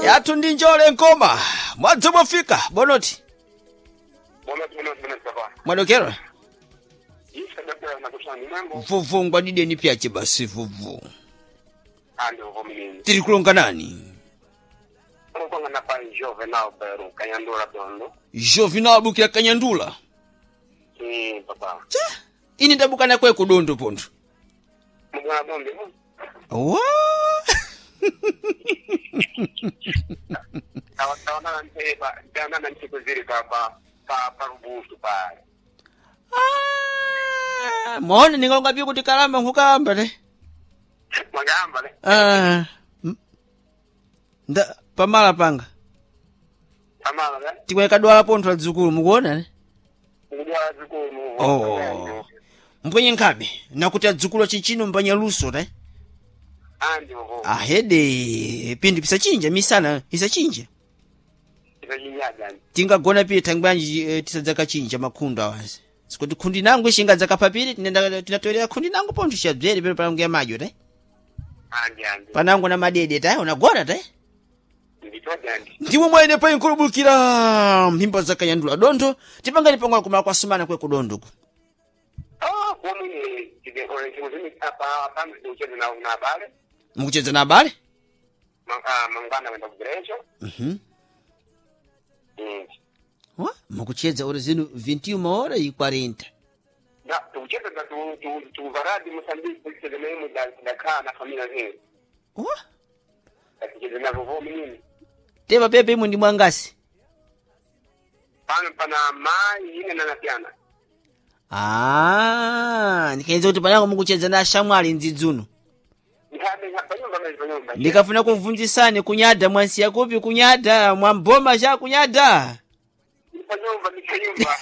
Yathu ndi njole nkoma. Mwadzi mwafika bonoti. Bonoti bonoti bonoti papa. Mwadokera. Isa dakura na kushani mambo. Vuvu ngwadideni pyache basi vuvu. Ando vominini. Tiri kulonga nani? Kulonga na pai Juvenal Beru Kanyandula Dondo. Juvenal bukira Kanyandula. Papa. Cha. Ini ndabukana kwe kudondo pontho. Mugwana dondo. Wa. Tawana nte pa tawana nte kuziri pa pa pa pa rubusu pa. Ah, mona ningalonga pi kuti kalamba nkukalamba te. Mwagamba le. Ah. Nda pamala panga. Pamala le. Tikwe kadwala pontho adzukulu mukuona ne? Kudwala dzukulu. Oh. Mbwenye nkhabe nakuti adzukulu chichino mbanya luso te. Andi vovo. Ahede pindi pisachinja misana isachinja. Isachinja Tingagona pili thangwanji tisadzakachinja makhundu awansi. Sikuti khundi nangu ishinga dzakapapiri tinenda tinatoelera khundi nangu pontho xabzere pano panangu ya madyo te. Andi andi. Panangu na madede ta unagona te. Nditodi andi. Ndimwe mwene pa inkulubukira mphimba za Kanyandula dontho tipangani pang'ono kumala kwasumana kwe kudondoku. Ah, kumi chikuzimi apa apa ndikucheza na na abale. Mukucheza na abale? Mangwana wenda kugerecho. Mhm. Wa, mukucheza ora zinu 21 hora e 40. Na tukucheza na tu tu tu varadi Mozambique kucheza na yeye da da na familia zenu. Wa, Tukucheza na vovo mimi. tepa pepe imwe ndi mwangasi. Pano pana mai ine na natiana. Ah, ndikaenza kuti panango mukucheza na ashamwali ndzidzuno. Ndikabe panyumba mezi panyumba. Ndikafuna kumvunzisani kunyada mwansiya kupi kunyada mwamboma cha kunyada. Panyumba nikanyumba.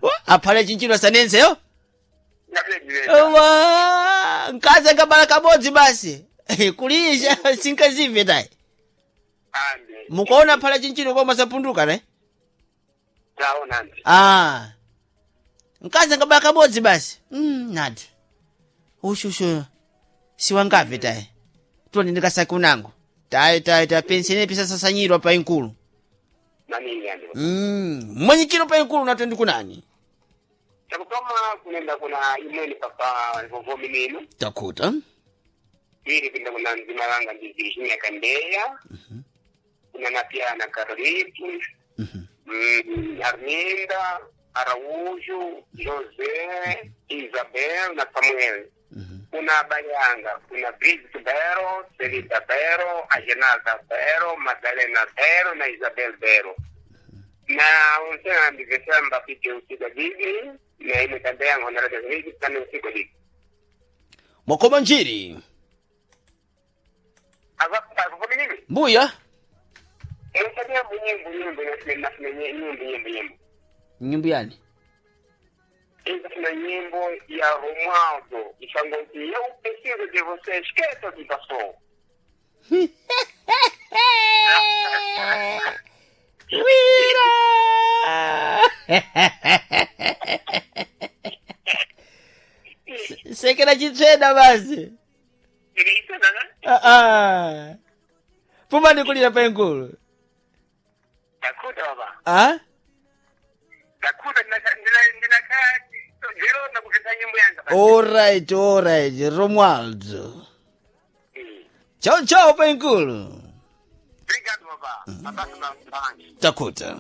Wa, aphale chinchino sanenseyo? Ngabele. Wa, nkazi angabala kabodzi basi. Kulisha sinkazive tayi. Andi. Mukaona phala chinchino koma sapunduka ne? Taona andi. Ah. Nkazi angabala kabodzi basi. Nadi. Ushushu. Siwangave tayi. Toni ndikasake unango. Tayi tayi tayi pensene pisasasanyirwa pa inkulu. Nani andi. Mwanyikiro pa inkulu nato kunani? Chakutoma kunenda kuna imweni papa vovo minino. Takuta. Ili pinda kuna mzima wanga ndi Virginia Kandeya. Kuna na pia na Carlitos. Arminda, Araújo, José, Isabel na Samuel. Kuna Bayanga, kuna Brigitte Bero, Celita Bero, Agenalda Bero, Madalena Bero na Isabel Bero. Na unsena ndivesamba pite usiku didi na ime Kandeya honorable Brigitte kama usiku didi. Mwakoma njiri. Ava kwa nini? Mbuya. Esa nyimbo nyimbo nyimbo na nyimbo nyimbo nyimbo. Nyimbo yani? Essa nyimbo ya Romualdo, Ixangoti, eu preciso de você, esqueça o que passou. Wira! Sekera chitsveda basi. Isso, né? Ah, ah. Pumani kulira paenkulu. Ndakuda baba. Ah? Ndakuda ndinaka zero na kupita nyimbo yanga. Alright, alright, Romualdo. Chao chao paenkulu. Obrigado baba. Abraço na Takuta.